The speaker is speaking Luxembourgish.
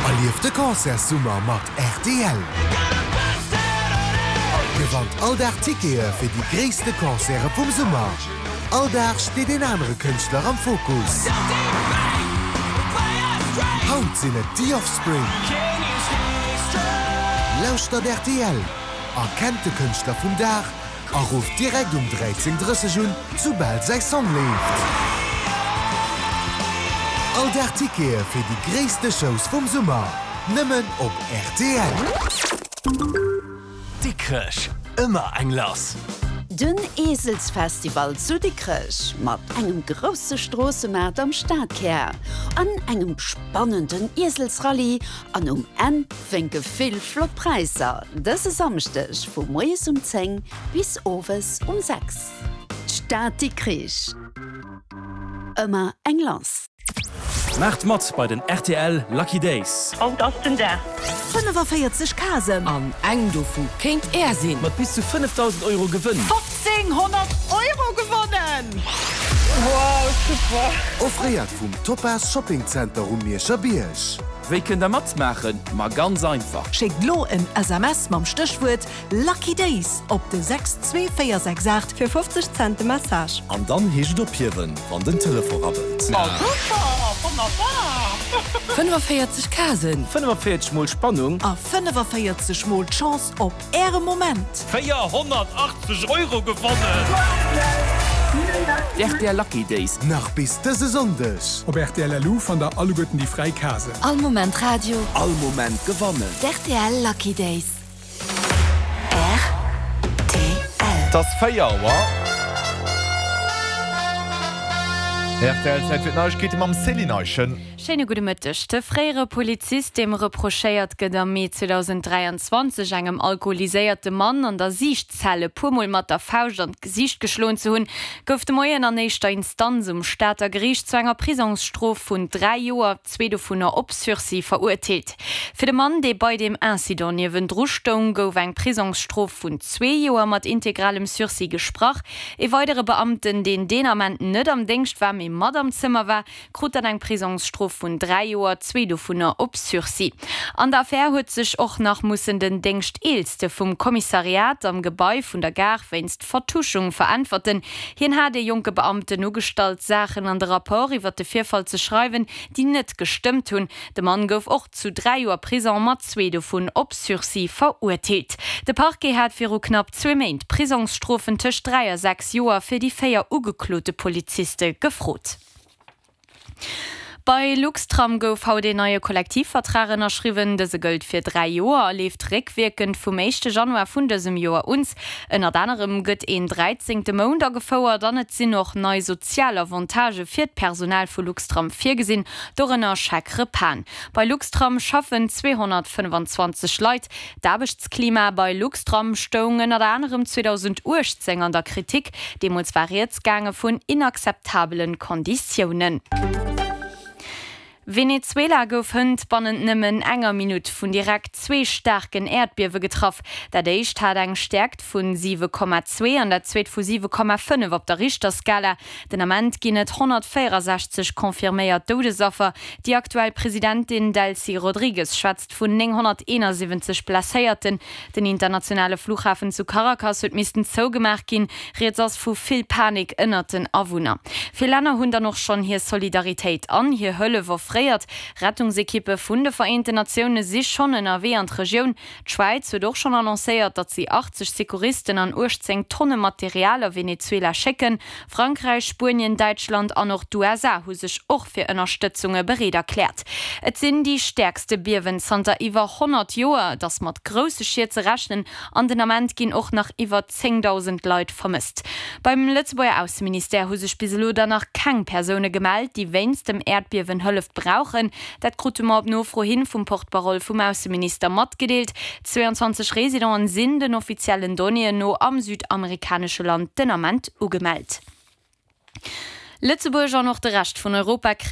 Erlieft de Concertssummer mat rtl! Gewannt all Dag Tickete fir déi gréisste Concerte vum Summer. All Dag steet een anere Kënschtler am Fokus. Haut sinn et The Offspring. Lauschtert rtl, erkennt de Kënschtler vum Dag a rufft direkt um 13:30 un, soubal säi Song leeft. All Dag Tickete fir déi gréisste Shows vum Summer, nëmmen op rtl. Dikrech, ëmmer eng lass! Den Eeselsfestival zu Dikrech mat engem grousse Stroossemaart am Stadkär an engem spannenden Ieselsrallye an um Enn wénke vill flott Präisser dëse Samschdeg vu moies um 10 bis owes um 6. D'Stad Dikrich, ëmmer eng lass! Maacht mat bei den rtl Lucky Days! Haut ass den Dag! 45 Casen! An eng dovu kéint Är sinn! Mat bis zu 5.000 Euro Gewënn! 1500 Euro gewonnen! Wow, super! Offréiert vum Topaz Shopping Center um Mierscher Bierg. Wéi kënnt der matmaachen? Ma ganz einfach! Schéckt lo en SMS mam Stéchwuert Lucky Days op de 62468 fir 50 Cent de Message. An dann heescht et ophiewen, wann den Telefon rabbelt. Oh super, wonnerbar! 45 Casen. 45 mol Spannung. A 45 mol d'Chance op Äre Moment. 480 Euro gewonnen! D'RTL Lucky Days. Nach bis dëse Sonndeg. Op rtl LU fannt der alleguerten déi fräi Casen. All Moment Radio. All Moment gewannen. D'RTL Lucky Days. Rtl. Et ass 4 Auer. Rtl, Zäit fir d'Neiegkeete mam Céline Eischen. Schéine gudde Mëtteg. De fréiere Polizist, deem reprochéiert gëtt, am Mee 2023 engem alkoholiséierte Mann an der Siichtzell e puer Mol mat der Fauscht an d'Gesiicht geschloen ze hunn, gouf de Moien an éischter Instanz um Stater Geriicht zu enger Prisongsstrof vun 3 Joer, zwee dovunner op Sursis, verurteelt. Fir de Mann, dee bei deem Incident niewendru stoung, gouf eng Prisongsstrof vun zwee Joer mat integralem Sursis gesprach. Ee weidere Beamten, deen deen Ament net am Déngscht war, mee mat am Zëmmer war, krut dann eng Prisongsstrof vun 3 Joer, zwee dovunner op Sursis. An der Affär huet sech och nach mussen den Déngschteelste vum Kommissariat am Gebai vun der Gare wéinst Vertuschung veräntwerten. Hien hat ee jonke Beamten ugestallt, Saachen an de Rapport iwwer de Virfall ze schreiwen, déi net gestëmmt hunn. De Mann gouf och zu 3 Joer Prisong, mat zwee dovun op Sursis, verurteelt. De Parquet hat viru knapp zwee Méint Prisongsstrofen tëscht 3 a 6 Joer fir déi 4 ugeklote Poliziste gefrot. Bei Luxtram gouf haut een neie Kollektivvertrag ënnerschriwwen. Dëse gëllt fir 3 Joer a leeft réckwierkend vum éischte Januar vun dësem Joer un. Ënnert anerem gëtt een dräizéngte Mount agefouert an et sinn och nei sozial Avantagë fir d'Personal vu Luxtram virgesinn, dorënner Chèque-repasen. Bei Luxtram schaffen 225 Leit. D'Aarbechtsklima bei Luxtram stoung ënnert anerem 2018 an der Kritik. Deemools war rieds gaange vun inakzeptabele Konditiounen. Venezuela gouf hënt bannent nëmmen enger Minutt vun direkt zwee staarken Äerdbiewe getraff. Dat éischt hat eng Stäerkt vun 7,2 an dat zweet vu 7,5 op der Richterskala. Den Ament ginn et 164 confirméiert Doudesaffer. Déi aktuell Presidentin Delcy Rodrigues schwätzt vun 971 Blesséierten. Den internationale Flughafen zu Caracas huet missten zougemaach ginn. Rieds ass vu vill Panik ënnert den Awunner. Vill Länner hunn dann och schonn hir Solidaritéit an hir Hëllef offréiert. Rettungsekippe vun de Vereenten Natioune si schonn ënnerwee an d'Regioun. D'Schwäiz huet och schonn annoncéiert, datt si 80 Secouristen an 18 Tonne Material a Venezuela schécken. Frankräich, Spuenien, Däitschland an och d'USA hu sech och fir Ënnerstëtzunge bereet erkläert. Et sinn déi stäerkste Biewen zanter iwwer 100 Joer. Et ass mat grousse Schied ze rechnen an den Ament ginn och nach iwwer 10.000 Leit vermësst. Beim Lëtzebuerger Ausseministère hu sech bis elo der nach keng Persoune gemellt, déi wéinst dem Äerdbiewen Hëllef brauchen. Dat krute mer op Nofro hin vum Porte-parole vum Ausseminister matgedeelt. 22 Residenten sinn den offiziellen Donnéeën no am südamerikanesche Land den Ament ugemellt. Lëtzebuerg an och de Rescht vun Europa kréien.